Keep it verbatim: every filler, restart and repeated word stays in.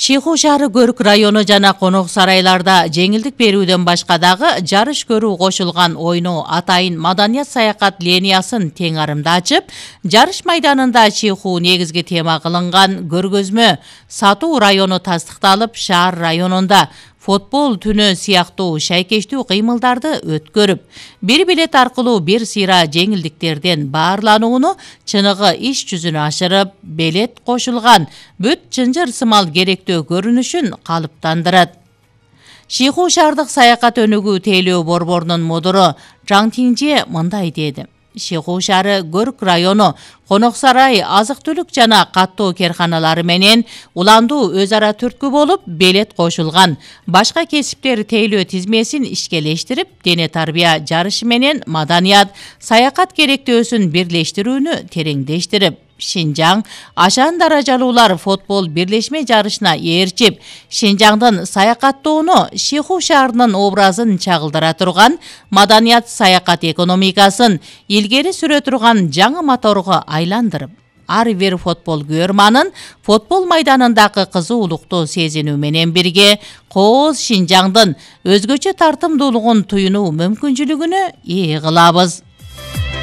Шиху шаары Көрк району жана конок сарайларда жеңилдик берүүдөн башка дагы жарыш көрүү кошулган ойноо атайын маданият саякат линиясын тең арымда ачып, жарыш майданында Шиху негизги тема кылынган көргөзмө Сатуу району тастыкталып, шаар районунда футбол түнү сыяктуу шайкештүү кыймылдарды өткөрүп, бир билет аркылуу бир сыйра жеңилдиктерден баарланууну чыныгы иш жүзүнө ашырып, билет кошулган бүт чынжыр сымал керектөө көрүнүшүн калыптандырат. Шиху шаардык саякат өнүгүү тейлөө борборунун мудуру Жан Тиңже мындай деди. Шиху шаары Көрк району конок сарай, азык-түлүк жана каттоо керканалары менен уландуу өз ара түрткү болуп, билет кошулган башка кесиптер тейлөө тизмесин ишкелештирип, дене тарбия жарышы менен маданият, саякат керектөөсүн бирлештирүүнү тереңдештирип, Шинжаң ашан даражалуулар футбол бирлешме жарышына ээрчип, Шинжаңдын саякаттоону Шиху шаарынын образын чагылдыра турган маданият саякат экономикасын илгери сүрө турган жаңы моторго айландырып, ар бир футбол көрманын футбол майданындагы кызуулукту сезинүү менен бирге кооз Шинжаңдын өзгөчө тартымдуулугун туюнуу мүмкүнчүлүгүнө ээ кылабыз.